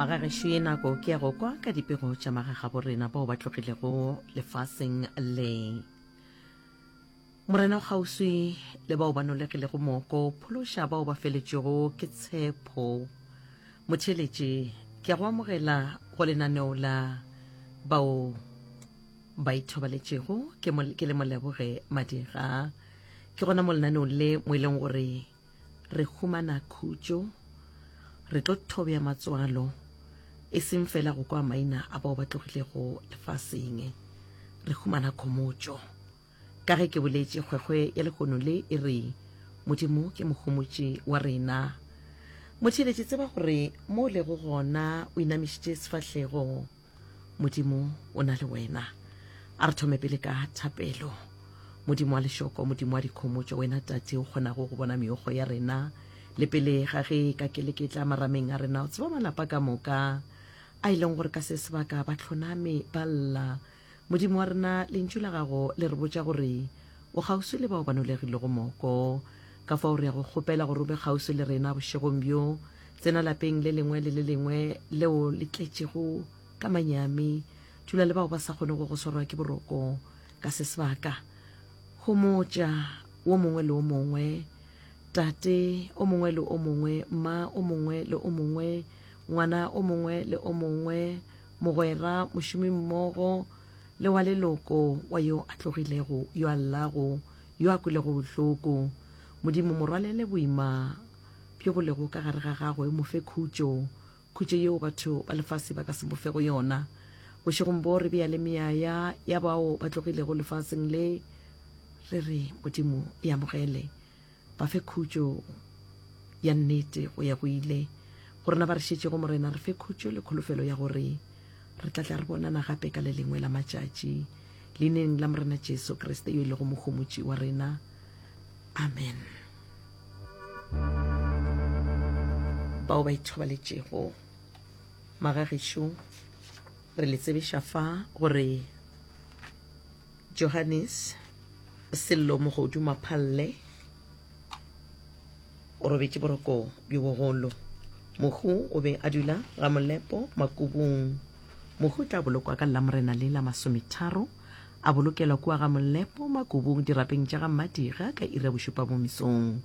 Magagešo ye nako ke ya go kwa ka dipego tša magagabo rena bao ba tlogilego lefaseng le. Morena o kgauswi le bao ba nolegilego moko, phološa bao ba feletšwego ke tshepo. Motheeletši, ke a go amogela go lenaneo la bao ba ithobaletšego ke, ke le moleboge Madira. Ke gona mo lenaneong le mo e leng gore re humana khutšo, re tlo thobja matswalo, e seng fela go kwa maina a bao ba tlogilego lefaseng, re humana khomotšo. Ka ge ke boletše, kgwekgwe ya lehono le e re, Modimo ke mohomotši wa rena. Motheeletši, tseba gore mo o lego gona o inamišitše sefahlego. Modimo o na le wena. A re thome pele ka thapelo. Modimo wa lešoko, Modimo wa dikhomotšo, wena Tate o kgonago go bona meokgo ya rena le pele ga ge ka keleketla marameng a rena, o tseba malapa ka moka a e leng gore ka se sebaka ba hloname ba lla. Modimo wa rena, Lentšu la Gago le re botša gore O kgauswi le bao ba nolegilego moko. Ka fao re ya go kgopela gore o be kgauswi le rena bošegong bjo. Tsena lapeng le lengwe le le lengwe leo le tletšego ka manyami. Dula le bao ba sa kgonego go swarwa ke boroko ka se sebaka. Homotša wo mongwe le wo mongwe, tate o mongwe le o mongwe, mma o mongwe le o mongwe, ngwana o mongwe le o mongwe, mogwera, mošomimmogo le wa leloko wa yo a tlogilego, yo a llago, yo a kwelego bohloko. Modimo, mo rwalele boima bjo bo lego ka gare ga gagwe, mo fe khutšo, khutšo yeo batho ba lefase ba ka se mo fego yona. Bošegong bo re bea le meaya ya bao ba tlogilego lefaseng le, re re, Modimo, e amogele. Ba fe khutšo ya nnete go ya go ile. Go rena ba re šetšego, Morena, re fe khutšo le kholofelo ya gore re tla tla re bonana gape ka le lengwe la matšatši. Leineng la Morena Jesu Kriste yo e lego Mohomotši wa rena. Amen. Bao ba ithobaletšego, magagešo, re le tsebiša fa gore Johannes Sello Mogodu Maphalle o robetše boroko bjo bogolo. Mohu o be a dula ga Molepo Makubung. Mohu o tla bolokwa ka Lamorena le la masometharo, a bolokelwa kua ga Molepo Makubung dirapeng tša ga Mmadiga ka iri ya bošupa mo mesong.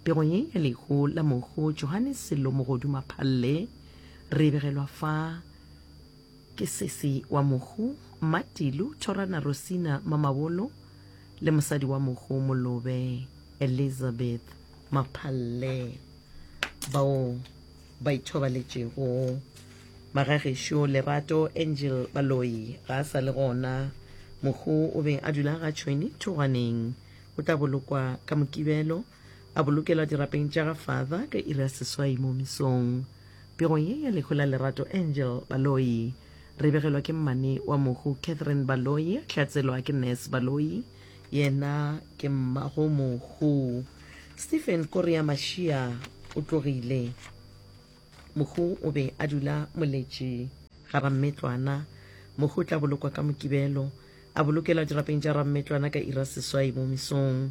Pego ye ya lehu la mohu Johannes Sello Mogodu Maphalle re e begelwa fa Ke sesi wa mohu Mmatilu Thorana Rosina Mamabolo le mosadi wa mohu Molobe Elizabeth Maphalle bao ba ithobaletšego. Magagešo Lerato Angel Baloyi ga a sa le gona. Mohu o be a dula ga Tšhweni Thogwaneng. O tla bolokwa ka Mokibelo a bolokelwa dirapeng tša ga Father ka iri ya seswai mo mesong. Pegong ye ya lehu la Lerato Angel Baloyi, re begelwa ke mmane wa mohu Catherine Baloyi, a hlatselwa ke Nurse Baloyi, yena ke mmago mohu. Stephen Korea Mashia o tlogile. Mohu o be a dula Moletši ga Rammetlwana. Mohu o tla bolokwa ka Mokibelo, a bolokelwa dirapeng tša Rammetlwana ka ira seswai mo mesong.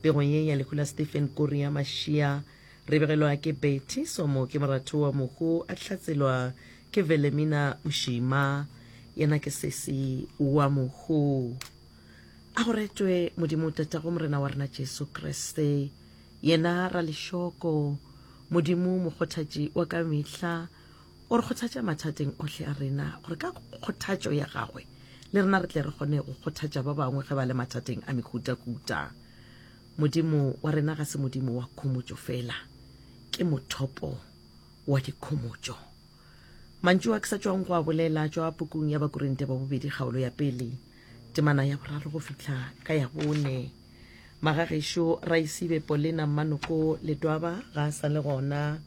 Pegong ye ya lehu la Stephen Korea Mashia, re begelwa ke Betty Somo ke moratho wa mohu a hlatselwa ke Velemina Moshima, yena ke sesi wa mohu. A go retwe Modimo Tatago Morena wa rena Jesu Kriste, yena Ralešoko, Modimo mokgothatši wa ka mehla, o re kgothatša mathateng ohle a rena, gore ka kgothatšo ya gagwe le rena re tle re kgone go kgothatša ba bangwe ge ba le mathateng a mehutahuta. Modimo wa rena ga se Modimo wa khomotšo fela, ke mothopo wa dikhomotšo. Mantšu a ke sa tšwang go a bolela a tšwa pukung ya Bakorinte ba bobedi kgaolo ya pele, temana ya boraro go fihla ka ya bone. Magagešo Raisibe Polena Mmanoko Letwaba ga a sa le gona.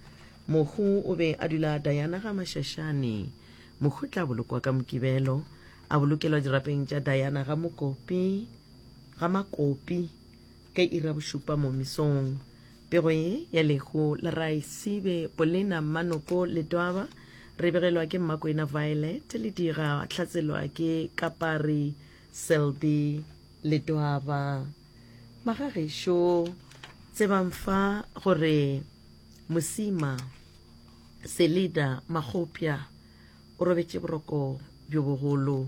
Mohu o be a dula Diana ga Mashashane. Mohu tla bolokwa ka Mokibelo, a bolokelwa dirapeng tša Diana ga Mokopi, ga Makopi ka iri ya bošupa mo mesong. Pego ye ya lehu la Raisibe Polena Mmanoko Letwaba re begelwa ke Mmakwena Violet Lediga, a hlatselwa ke Kapari Selby Letwaba. Magagešo, tsebang fa gore Mosima. Selida Makgopja o robetše boroko bjo bogolo.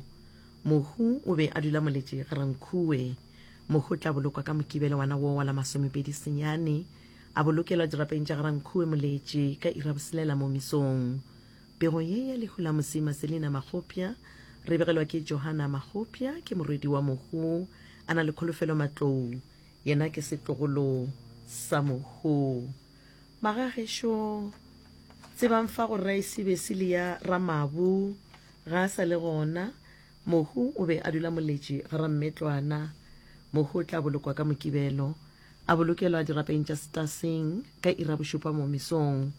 Mohu o be a dula Moletše Ga-Rankuwe. Mohu o tla bolokwa ka Mokibelo wana wo wa la masomepedi senyane, a bolokelwa dirapeng tša Ga-Rankuwe Moletše ka iri ya boselela mo mesong. Pego ye ya lehu la Mosima Selina Makgopja re begelwa ke Johanna Makgopja, ke morwedi wa mohu a na le Kholofelo Matlou, yena ke setlogolo sa mohu. Magagešo, tsebang fa gore Raesibe Silia Ramabu ga a sa le gona. Mohu o be a dula Moletši ga Rammetlwana. Mohu o tla bolokwa ka Mokibelo, a bolokelwa dirapeng tša Setaseng ka iri ya bošupa mo mesong.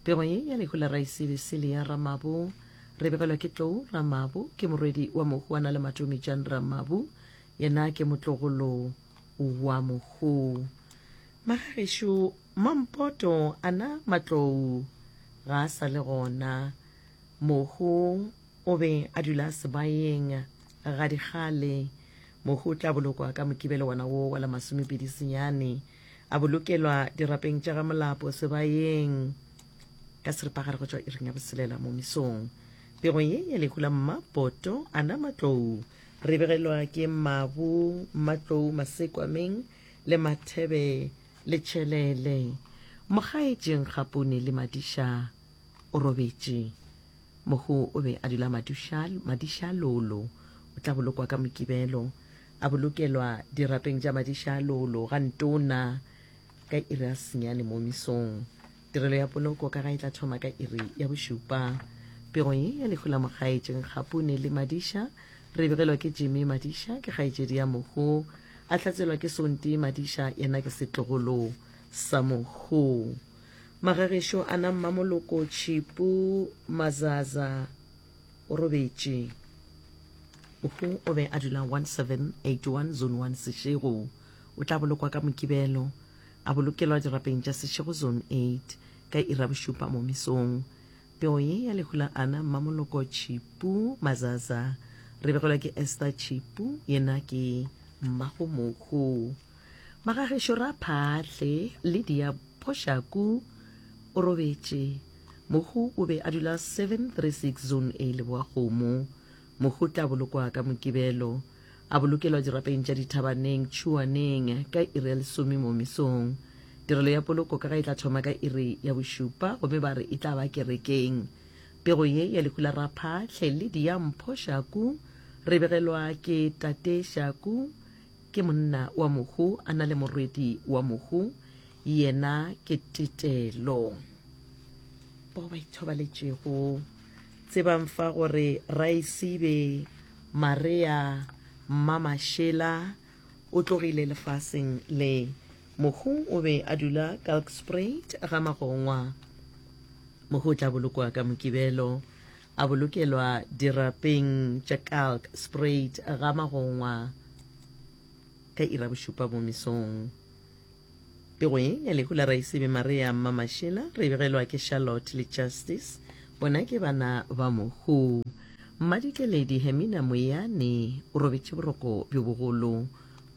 Pego ye ya lehu la Raesibe Silia Ramabu re begelwa ke Tlou Ramabu, ke morwedi wa mohu a na le Matomi Jan Ramabu, yena ke motlogolo wa mohu. Magagešo Mampoto ana Matlou ga a sa le gona. Mohu o be a dula sebaeng ga dikgale. Mohu o tla bolokwa ka Mokibelo wona wo wa la masomepedi senyane. A bolokelwa dirapeng tša ga Molapo sebaeng ka seripagare go tšwa iring ya boselela mo mesong. Pego ye ya lehu la Mmapoto ana Matlou re begelwa ke Mabu Matlou Masekwameng le Mathebe le Tšhelele. Mogaetši Nkgapune le Madiša o robetše. Mohu o be a dula Maduša, Madiša-Lolo. O tla bolokwa ka Mokibelo. A bolokelwa dirapeng tša Madiša-Lolo ga Ntona ka iri ya senyane mo mesong. Tirelo ya poloko ka ga e tla thoma ka iri ya bošupa. Pego ye ya lehu la Mogaetši Nkgapune le Madiša re begelwa ke Jimmy Madiša, ke kgaetšedi ya mohu, a hlatselwa ke Sonti Madiša, yena ke setlogolo sa mohu. Magagešo a na Mmamoloko Tšhipu Mazaza o robetše. Mohu o be a dula 1781 Zone 1 Seshego. O tla bolokwa ka Mokibelo, a bolokelwa dirapeng tša Seshego Zone 8 ka iri ya bošupa mo mesong. Pego ye ya lehu la Anna Mmamoloko Tšhipu Mazaza re begelwa ke Esther Tšhipu, yena ke mmago mohu. Magagešo Raphahle Lydia Phoshaku o robetše. Mohu o be a dula 736 Zone A Leboakgomo. Mohu o tla bolokwa ka Mokibelo. A bolokelwa dirapeng tša Dithabaneng, Tšhuaneng, ka iri ya lesome mo mesong. Tirelo ya poloko ka ga e tla thoma ka iri ya bošupa gomme ba re e tla ba kerekeng. Pego ye ya lehu la Raphahle Lydia Mpho Shaku re begelwa ke Tate Shaku, ke monna wa mohu a na le morwedi wa mohu, yena ke Tetelo. Bao ba ithobaletšego tsebang fa gore Raesibe Maria Mmamašela o tlogile lefaseng le. Mohu o be a dula Kalkspruit ga Magongwa. Mohu o tla bolokwa ka Mokibelo, a bolokelwa dirapeng tša Kalkspruit ga Magongwa ka iri ya bošupa mo mesong. Pego ye ya lehu la Raisibe Maria Mmamašela re e begelwa ke Charlotte le Justice, bona ke bana ba mohu. Mmadikeledi Hermina Moyane o robetše boroko bjo bogolo.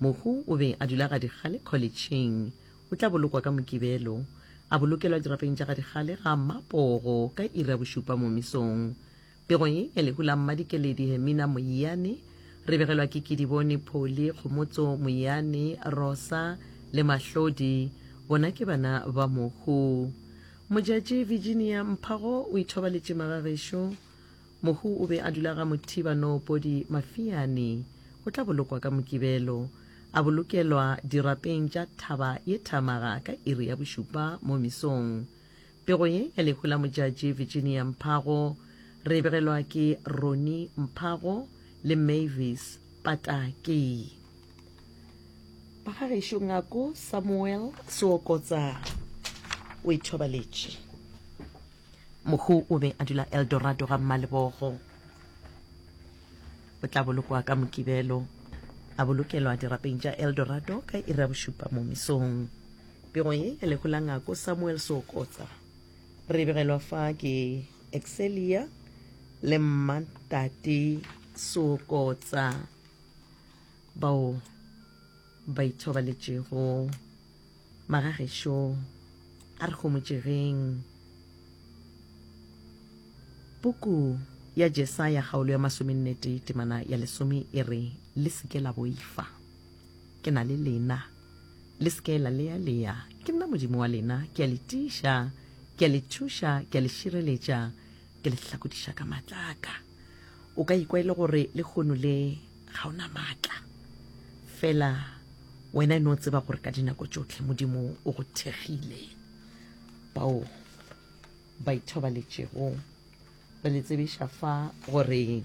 Mohu o be a dula Gadikgale Kholetšheng. O tla bolokwa ka Mokibelo, a bolokelwa dirapeng tša Gadikgale ga Mmapogo ka iri ya bošupa mo mesong. Pego ye ya lehu la Mmadikeledi Hermina Moyane re begelwa ke Kedibone Pholi, Kgomotso Moyane, Rosa le Mahlodi, bona ke bana ba mohu. Mojatši Virginia Mphago o ithobaletše magagešo. Mohu o be a dula ga Mothiba Noopodi Mafiane. O tla bolokwa ka Mokibelo, a bolokelwa dirapeng tša Thaba ye Thamaga ka iri ya bošupa mo mesong. Pego ye ya lehu la Modjadji Virginia Mphago re e begelwa ke Ronnie Mphago le Mavis Pataki. Bagagešo Ngako Samuel Seokotsa o ithobaletše. Mohu o be a dula Eldorado ga Mmalebogo. O tla bolokwa ka Mokibelo, a bolokelwa dirapeng tša Eldorado ka iri ya bošupa mo mesong. Pego ye ya lehu la Ngako Samuel Seokotsa re e begelwa fa ke Excelia le Mmantate Seokotsa bao ba ithobaletšego. Magagešo a re homotšegeng. Puku ya Jesaya kgaolo ya masomennetee temana ya lesome e re, Le se ke la boifa. Ke na le lena. Le se ke la lealea. Ke nna Modimo wa lena. Ke a le tiiša, ke a le thuša, ke a le šireletša, ke le hlakodiša ka matla a ka. O ka ikwa e le gore lehono le ga o na matla. Fela wena e no tseba gore ka dinako tšohle Modimo o go thekgile. Bao ba ithobaletšego re le tsebiša fa gore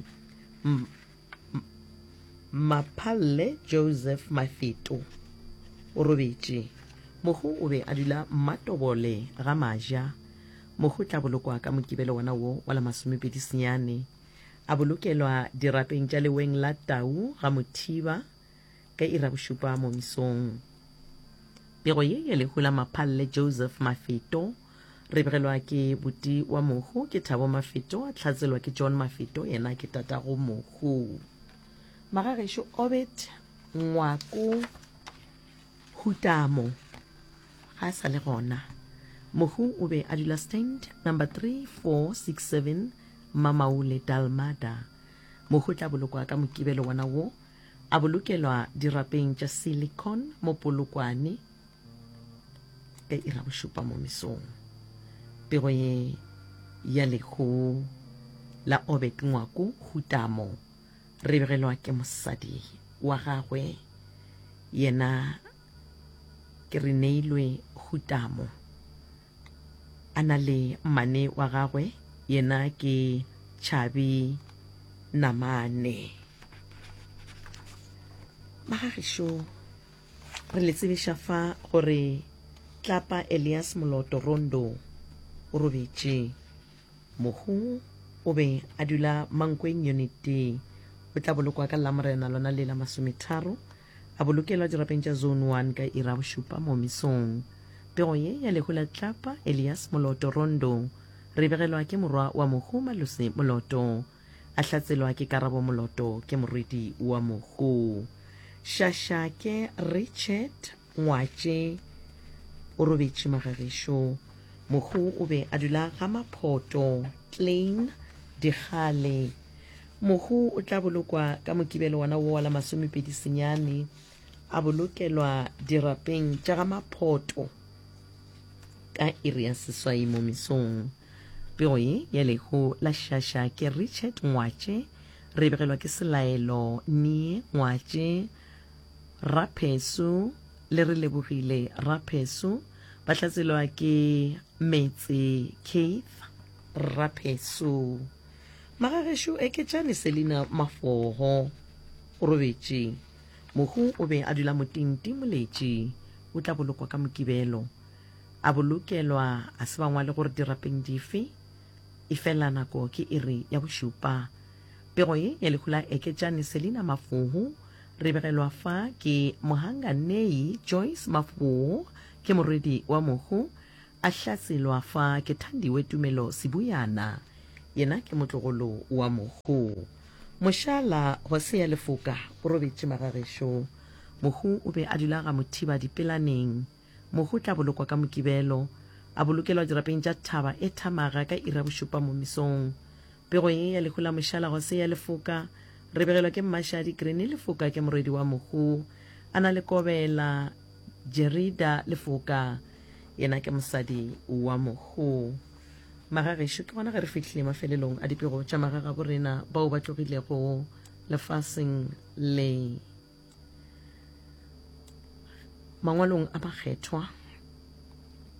Maphalle Joseph Mafeto o robetše. Mohu o be a dula Mmatobole ga Maja. Mohu tla bolokwa ka Mokibelo wona wo wa la masomepedi senyane. A bolokelwa dirapeng tša leweng la Tau ga Mothiba ka iri ya bošupa mo mesong. Pego ye ya lehu la Maphalle Joseph Mafeto re begelwa ke buti wa mohu ke Thabo Mafeto, a hlatselwa ke John Mafeto, yena ke tatago mohu. Magagešo Obed Ngwako Hutamo ga a sa le gona. Mohu o be a dula stand number 3467 Mamaule Dalmada. Mohu o tla bolokwa ka Mokibelo wona wo, a bolokelwa dirapeng tša Silicon mo Polokwane ka iri ya bošupa mo mesong. Pego ye ya lehu la Obed Ngwako Hutamo re begelwa ke mosadi wa gagwe yena ke Reneilwe Hutamo a na le mmane wa gagwe yena ke Chabi Namane. Magagešo re le tsebiša fa gore Tlapa Elias Moloto Rondo o robetše. Mohu o be a dula Mankweng Unit D. O tla bolokwa ka Lamorena lona le la masometharo, a bolokelwa dirapeng tša Zone 1 ka iri ya bošupa mo mesong. Pego ye ya lehu la Tlapa Elias Moloto Rondo re e begelwa ke morwa wa mohu Malose Moloto, a hlatselwa ke Karabo Moloto ke morwedi wa mohu. Šašake Richard Ngwatše o robetše magagešo. Mohu o be a dula ga Maphoto, Klein, Dikgale. Mohu o tla bolokwa ka Mokibelo wona wo wa la masomepedi senyane, a bolokelwa dirapeng tša ga Maphoto ka iri ya seswai mo mesong. Pego ye ya lehu la Šaša ke Richard Ngwatše, re begelwa ke Selaelo Nie Ngwatše, Raphesu le Relebogile Raphesu, ba hlatselwa ke Metse Keith Raphesu. Magagešo Eketšane Selina Mafogo o robetše. Mohu o be a dula Motinti Moletši. O tla bolokwa ka Mokibelo. A bolokelwa a se ba ngwale gore dirapeng dife, efela nako ke iri ya bošupa. Pego ye ya lehu la Eketšane Selina Mafogo re begelwa fa ke Mohanganei Joyce Mafogo, ke morwedi wa mohu, a hlatselwa fa ke Thandiwe Tumelo Sebuyana, yena ke motlogolo wa mohu. Mošala Hosea Lefoka o robetše magagešo. Mohu o be a dula ga Mothiba Dipelaneng. Mohu o tla bolokwa ka Mokibelo, a bolokelwa dirapeng tša Thaba e Thamaga ka iri ya bošupa mo mesong. Pego ye ya lehu la Mošala Hosea Lefoka re begelwa ke Mmašadi Granny Lefoka ke morwedi wa mohu, a na le Kobela Jerida Lefoka, yena ke mosadi wa mohu. Magagešo, ke gona ge re fihlile mafelelong a dipego tša magagabo rena bao ba tlogilego lefaseng le. Mangwalong a Makgethwa,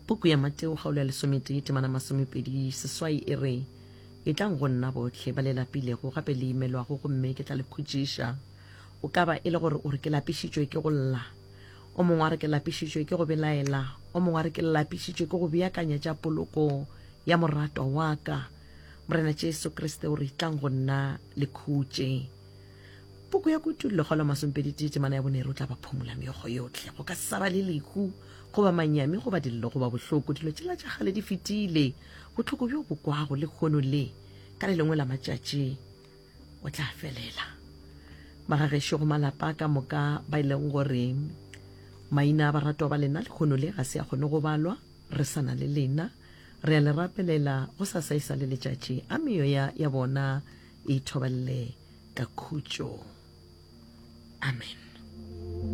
puku ya Mateo kgaolo ya lesometee temana masomepedi seswai e re, Etlang go nna bohle ba le lapilego gape le imelwago gomme ke tla le khutšiša. O ka ba e le gore o re ke lapišitšwe ke go lla. O mongwe a re ke lapišitšwe ke go belaela. O mongwe a re ke lapišitšwe ke go beakanya tša poloko ya moratwa wa ka. Morena Jesu Kriste o re etlang go nna le khutše. Puku ya Kutullo kgaolo ya masomepeditee temana ya bone e re o tla ba phumola meokgo yohle, go ka se sa ba le lehu goba manyami goba dillo goba bohloko, dilo tšela tša kgale di fetile. Bohloko bjo bo kwago lehono le ka le lengwe la matšatši o tla felela. Magagešo go malapa ka moka ba e leng gore maina a baratwa ba lena lehono le ga se a kgone go balwa, re sa na le lena. Re a le rapelela go sa sa e sa le letšatši, a meoya ya bona e ithobalele ka khutšo. Amen.